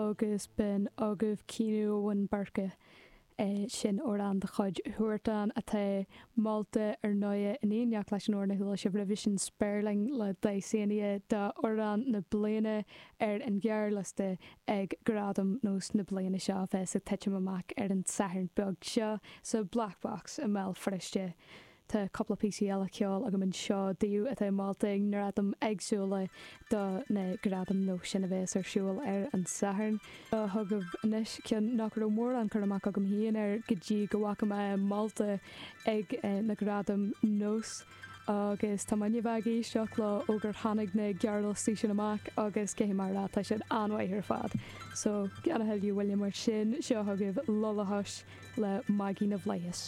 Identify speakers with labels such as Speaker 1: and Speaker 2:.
Speaker 1: Agus b'in agaibh Caoineadh Abhainn Boirche. Sin amhrán de chuid Huartan atá molta ar ndóighe in éineacht leis an amhrán a chuala sibh roimhe sin, Spéirling le Dysania d'amhrán na bliana ar an ghearrliosta ag Gradaim Nós na bliana seo a bheas ag titim amach ar an Satharn beag seo sa Black Box i mBéal Feirste. Tá cúpla píosaí eile ceoil agam anseo daoibh atá molta i ngradaim éagsúla do na Gradaim Nós sin a bheas ar siúl ar an Satharn. Seo chugaibh anois ceann nach raibh mórán cur amach agam féin air go dtí go bhfaca mé é molta ag na Gradaim Nós agus tá mé i ndiaidh a bheith ag éisteacht leo ó gur tháinig na gearrliostaí sin amach agus caithfidh mé a rá tá siad an-mhaith ar fad. So, gan a thuilleadh moille mar sin, seo chugaibh Lullahush le Maggie na bhFlaitheas.